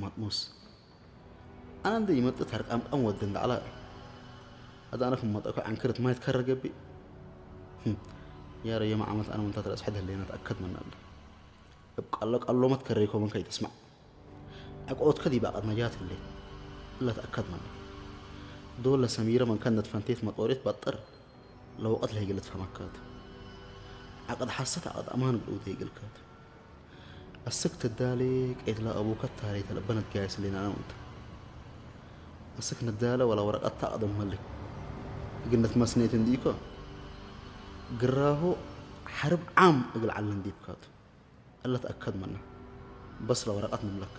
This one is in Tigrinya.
ማጥሞስ ኣነ እንደ ይመጥት ኣርቃምቃም ወዲ እንዳዕላ ኣዳ ኣነ ክመጠኮ ዓንክርት ማየት ከረገቢ ያረ የማ ዓመት ኣነ ምንታት ረስሐ ደለና ተኣከድ መናለ እብ ቃሎ ቃሎመት ከረይኮመን ከይተስማዕ ኣቆት ከዲ ባቀት ነጃት ህለ እላ ተኣከድ መና ዶለ ሰሚረ መንከነት ፈንቴት መጦሬት ባጠር ለወቀት ለይግለት ፈመካት ዓቀድ ሓሰት ዓቀድ ኣማን ግልውተ ይግልከት ኣስክ ትዳሌ ቀይትላ ኣቡከት ታሪተ ለበነት ጋይስ ሌና ነው እንተ ኣስክ ንዳለ ወላ ወረቀት ታቅደም መልክ ግነት መስኔት እንዲኮ ግራሆ ሐርብ ዓም እግል ዓለ እንዲብካቱ እለት ኣከድ መና በስ ለወረቀት ንምለክ